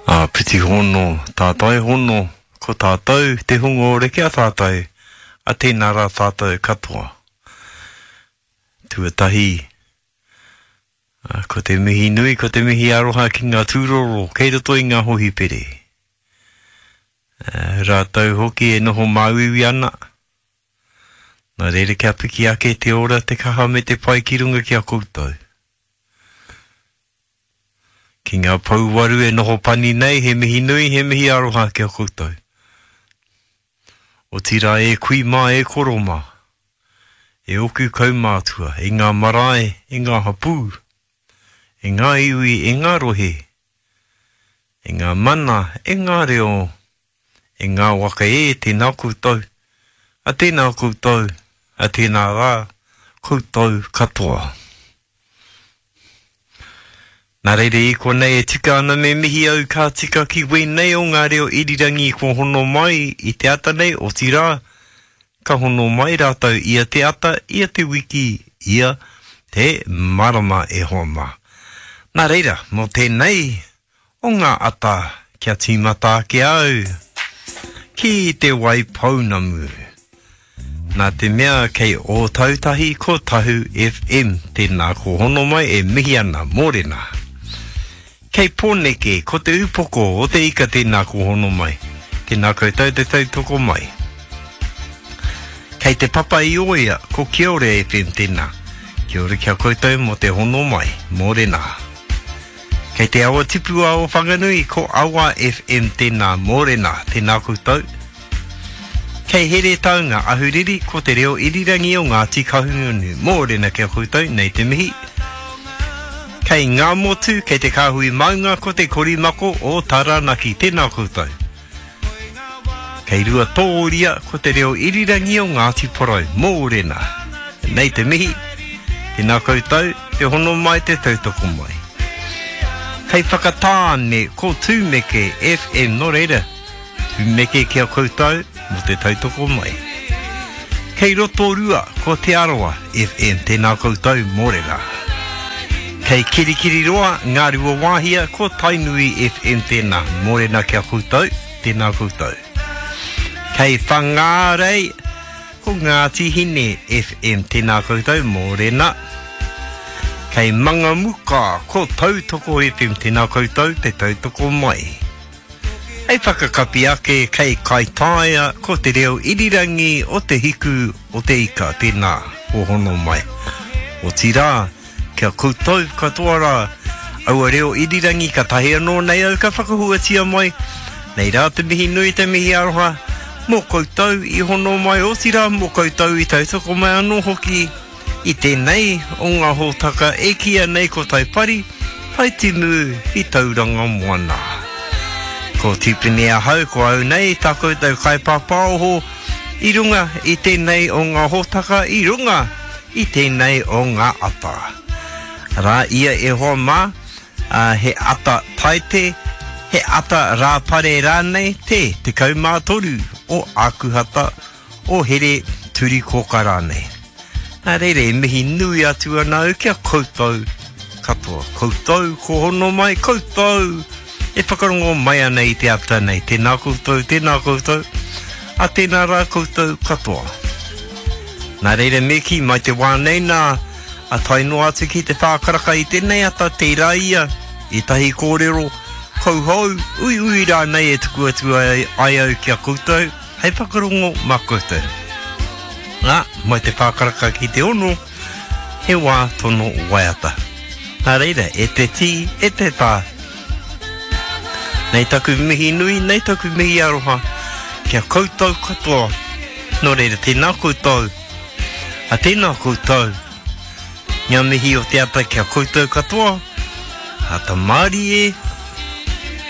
Āpiti hono, tātai hono, ko tātou te hunga ora ki a tātou, a tēnā rā tātou katoa. Tuatahi, ko te mihi nui, ko te mihi aroha ki ngā tūroro kei roto i ngā hohipere. Rātou hoki e noho māuiui ana, nā reira kia piki ake te ora, te kaha me te pai ki runga ki a koutou. Ki ngā pouwaru e noho pani nei, he mihi nui, he mihi aroha ki a koutou. Otirā e kui mā, e koro mā, e oku kaumātua, e ngā marae, e ngā hapū, e ngā iwi, e ngā rohe, e ngā mana, e ngā reo, E ngā waka e, tēnā koutou, a tēnā koutou, a tēnā rā, koutou katoa. Nā reira i konei e tika ana me mihi au ka tika ki wēnei o ngā reo irirangi kua hono mai i te ata nei, otirā, ka hono mai rātou ia te ata, ia te wiki, ia te marama e hoa mā. Nā reira, mō tēnei o ngā ata kia tīmata ake au ki Te Waipounamu. Nā te mea kei Ōtautahi ko Tahu FM, tēnā ko hono mai e mihi ana, mōrena. Kei Pōneke ko Te Upoko o te Ika tēnā ko hono mai, tēnā koutou te tautoko mai. Kei Te Papa i Oia ko Kiore FM tēnā, kia ora ki a koutou mō te hono mai, mōrena. Kei te awa tipua o Whanganui, ko Awa FM tēnā, mōrena, tēnā koutou. Kei Heretaunga, Ahuriri, ko te reo irirangi o Ngāti Kahungunu, mōrena ki a koutou, nei te mihi. Kei Ngāmotu, kei te Kāhui Maunga, ko te Korimako o Taranaki, tēnā koutou. Kei Ruatōria, ko te reo irirangi o Ngāti Porou, mōrena. Nei te mihi, tēnā koutou, te hono mai, te tautoko mai. Kei Whakatāne, ko Tūmeke FM, nō reira, tūmeke ki a koutou mō te tautoko mai. Kei Rotorua, ko Te Arawa FM, tēnā koutou, mōrena. Kei Kirikiriroa, Ngāruawāhia, ko Tainui FM tēnā, mōrena ki a koutou, tēnā koutou. Kei Whangārei, ko Ngāti Hine FM, tēnā koutou, mōrena. Kei Mangamuka, ko Tautoko FM, tēnā koutou, te tautoko mai. Hei whakakapi ake, kei Kaitaia, ko te reo irirangi o te hiku o te ika, tēnā, ko hono mai. Otirā, Kia koutou katoa rā, aua reo irirangi katahi anō nei au ka whakahuatia mai, nei rā te mihi nui te mihi aroha mō koutou i hono mai otirā mō koutou i tautoko mai anō hoki i tēnei o ngā hōtaka e kīia nei ko Taipari, Taitimu ki Tauranga Moana. Ko Tipene ahau, ko au nei tā koutou kaipāpāoho i runga i tēnei o ngā hōtaka i runga i tēnei o ngā ata. Rā ia e hoa mā, ā, he ata Taite, he ata Rāpare rānei te 13 o Ākuhata, o Here Turikōka rānei. Nā reira e mihi nui atu ana au ki a koutou katoa. Koutou ko hono mai, koutou e whakarongo mai ana i te ata nei. Tēnā koutou, tēnā koutou, a tēnā rā koutou katoa. Nā reira me kī, mai te wā nei nā, a tae noa atu ki te whākaraka i tēnei ata, tērā ia, ētahi kōrero, kauhou, uiui rānei e tuku atu ai, ai au ki a koutou, hei whakarongo mā koutou. Nā, mai te whākaraka ki te ono, he wā tono waiata. Nā reira, e te tī, e te tā, Nei taku mihi nui, nei taku mihi aroha ki a koutou katoa. Nō reira, tēnā koutou, a tēnā koutou. Ngā mihi o te ata ki a koutou katoa, ata mārie.